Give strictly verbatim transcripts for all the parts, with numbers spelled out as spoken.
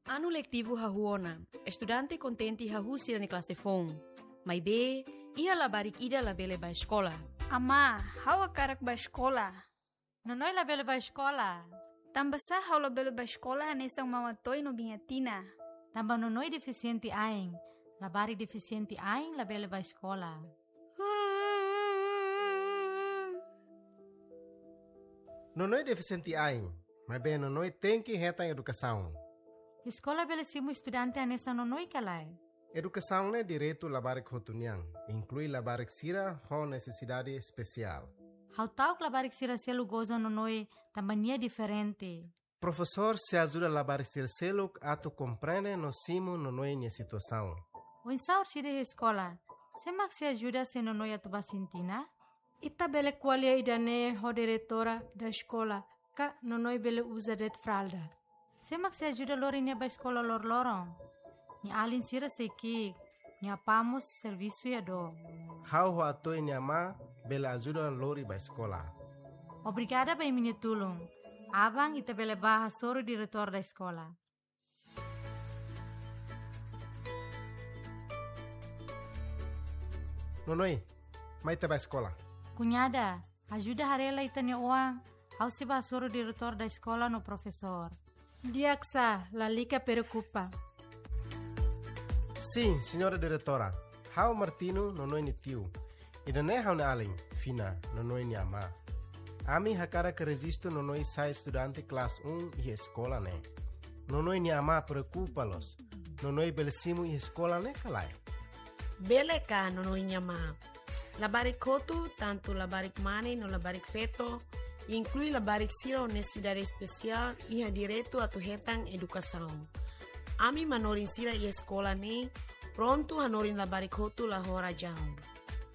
Anu letivu hahú ona, estudante kontente hahú sira-nia klase foun. Maibé, iha labarik ida labele bá eskola. Amá, ha'u hakarak bá eskola. Nonoi labele bá eskola. Tanbasá ha'u labele bá eskola hanesan Mama Toi no Biña Tina? Tanba Nonoi defisiente ain. Labarik defisiente ain labele bá eskola. Nonoi defisiente ain, maibé Nonoi tenke hetan edukasaun. Eskola bele simu estudante hanesan Nonoi ka lae? Edukasaun ne'e direitu labarik hotu nian, inklui labarik sira ho nesesidade espesiál. Ha'u ta'uk labarik sira seluk goza Nonoi tanba nia diferente. Profesór sei ajuda labarik sira seluk atu komprende no simu Nonoi nia situasaun. Oinsá orsida iha eskola? Sé mak sei ajuda se Nonoi atu bá sintina? Ita bele ko'alia ida-ne'e ho diretora da eskola, ka Nonoi bele uza de'it fralda. Sé mak sei ajuda lori nia bá eskola loroloron? Nia alin sira sei ki'ik, nia apá mós servisu iha dook. Ha'u ho Atoi nia amá bele ajuda lori bá eskola. Obrigada ba imi-nia tulun. Aban ita bele bá hasoru diretór da eskola. Nonoi, mai ita bá eskola. Kuñada, ajuda haree lai ita-nia oan, ha'u sei bá hasoru diretór da eskola no profesór. Di'ak sá, lalika preokupa. Sin, señora diretora. Ha'u Martino, Nonoi nia tiu. Ida-ne'e ha'u-nia alin, Fina, Nonoi nia amá. Ami hakarak rejistu Nonoi sai estudante klase um iha eskola ne'e. Nonoi nia amá preokupa loos. Nonoi bele simu iha eskola ne'e ka lae? Bele ka, Nonoi nia amá. Labarik hotu, tantu labarik mane no labarik feto, inklui labarik sira ho nesesidade espesiál, iha direitu atu hetan edukasaun. Ami manorin sira iha eskola ne'e prontu hanorin labarik hotu la ho razaun.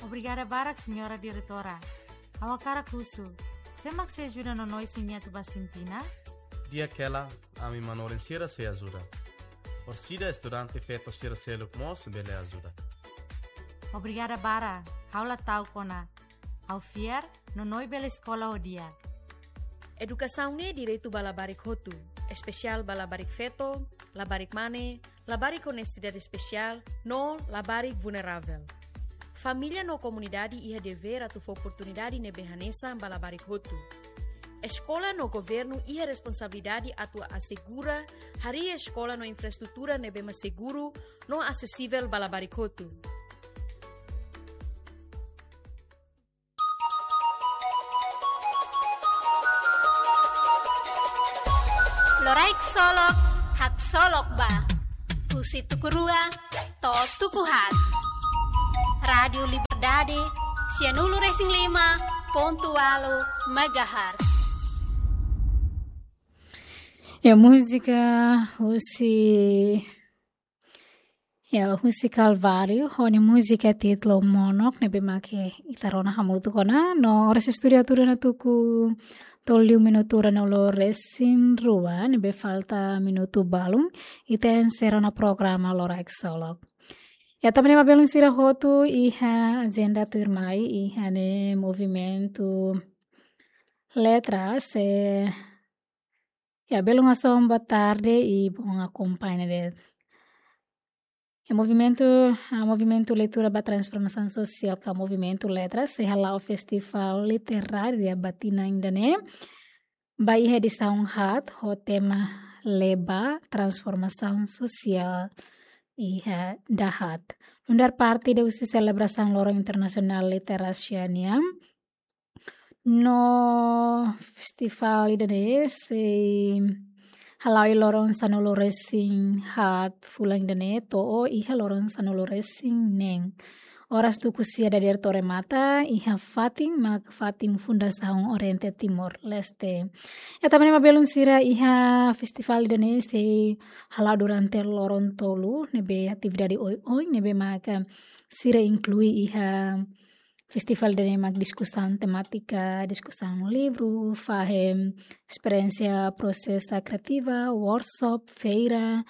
Obrigada barak, señora diretora. Ha'u hakarak husu, sé mak sei ajuda Nonoi se nia atu bá sintina? Di'ak hela, ami manorin sira sei ajuda. Orsida estudante feto sira seluk mós bele ajuda. Obrigada barak, ha'u la ta'uk ona. Ha'u fiar, Nonoi bele eskola ho di'ak. Edukasaun ne'e direitu ba labarik hotu, espesiál ba labarik feto, labarik mane, labarik ho nesesidade espesiál, no labarik vulneravel. Família no komunidade iha devér atu fó oportunidade ne'ebé hanesan ba labarik hotu. Eskola no governu iha responsabilidade atu asegura harii eskola no infraestrutura ne'ebé mak seguru no asesivel ba labarik hotu. Loraik Solok, haksolok ba. Husi tuku rua to'o tuku haat. Rádiu Liberdade, sianulu resin lima pontu ualu megahertz. Ya, múzika husi, ya, husi Calvário, ho nia múzika títulu Monok, ne'ebé mak ita rona hamutuk ona, no oras estúdiu atu rona tuku tolu minutu rona loloos resin rua, ne'ebé falta minutu balun, ita enserra ona programa Loraik Solok. Ya, tanba ne'e mak belun sira hotu iha ajenda tuirmai, iha ne'e movimentu Letras, eh, ya, belun asaun ba tarde i bom akompaña de'it. Ya, movimentu, ah, movimentu Leitura ba Transformasaun Sosiál ka movimentu Letras sei hala'o festivál literária ba tinan ida-ne'e. Ba iha edisaun haat ho tema Lee ba Transformasaun Sosiál iha Dahaat. Nu'udar parte husi selebrasaun Loron Internasionál Literasia nian, no festivál ida-ne'e sei hala'o iha loron sanulu resin haat fulan ida-ne'e to'o iha loron sanulu resin neen. Oras tuku sia dadeer to'o remata, iha fatin mak fatin Fundasaun Oriente Timor-Leste. Ya, tanba ne'e mak belun sira, iha festivál ida-ne'e sei hala'o durante loron tolu, ne'ebé atividade oioin, ne'ebé maka sira inklui iha festivál ida-ne'e mak diskusaun temátika, diskusaun livru, fahe esperiénsia prosesu kriativa, workshop, feira,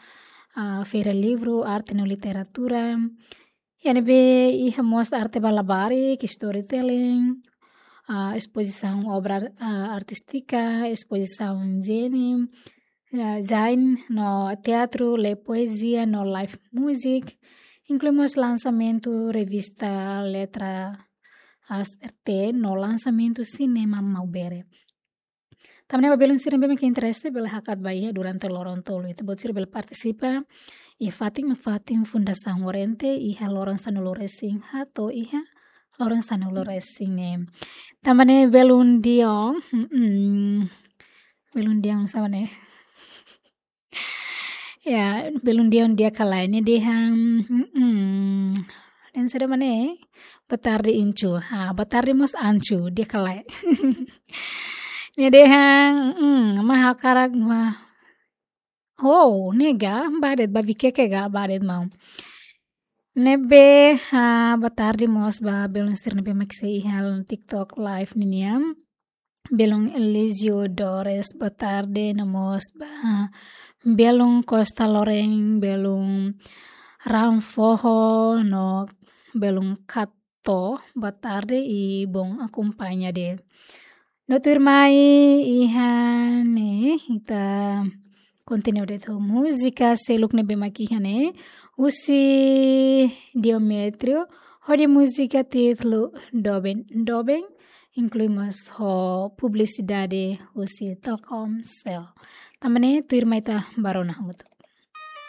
ah, feira livru, arte no literatura. Ya, ne'ebé iha mós arte ba labarik, storytelling, ah, espozisaun obra, ah, artístika, espozisaun jeni, eh, design no teatru, lee poezia no live music, inklui mós lansamentu revista Letra As R T no lansamentu sinema Maubere. Tanba ne'e ba belun sira ne'ebé mak interese bele hakat ba iha durante loron tolu ita-boot sira bele partisipa iha fatin mak fatin Fundasaun Oriente iha loron sanulu-resin-haat to'o iha loron sanulu-resin-neen. Tanba ne'e belun Dion, mm, belun Dion sá ne'e? Ya, belun Dion di'ak ka lae, nia dehan, mm, dan sudah mana, eh? Boa tarde, Ancu. Ha, boa tarde mós Ancu, di'ak ka lae. Nia dehan, mm, mak hakarak mak. Oh, ne'e ga, ba de'it, ba Viqueque ga, ba de'it maun. Ne'ebé, ha, boa tarde mós ba belun sira ne'ebé mak sei iha TikTok live ninian. Belun Elísio Dores, boa tarde, no mós ba belun Costa Lorraine, belun Ranfoho, no belun Kato, boa tarde i bom akompaña de'it. No tuirmai iha ne'e, ita kontinua de'it ho múzika seluk ne'ebé mak iha ne'e, husi Diométrio, hodi múzika títulu Doben Doben, inklui mós ho publisidade husi Telkomcel. Tanba ne'e tuirmai ita bá rona hamutuk.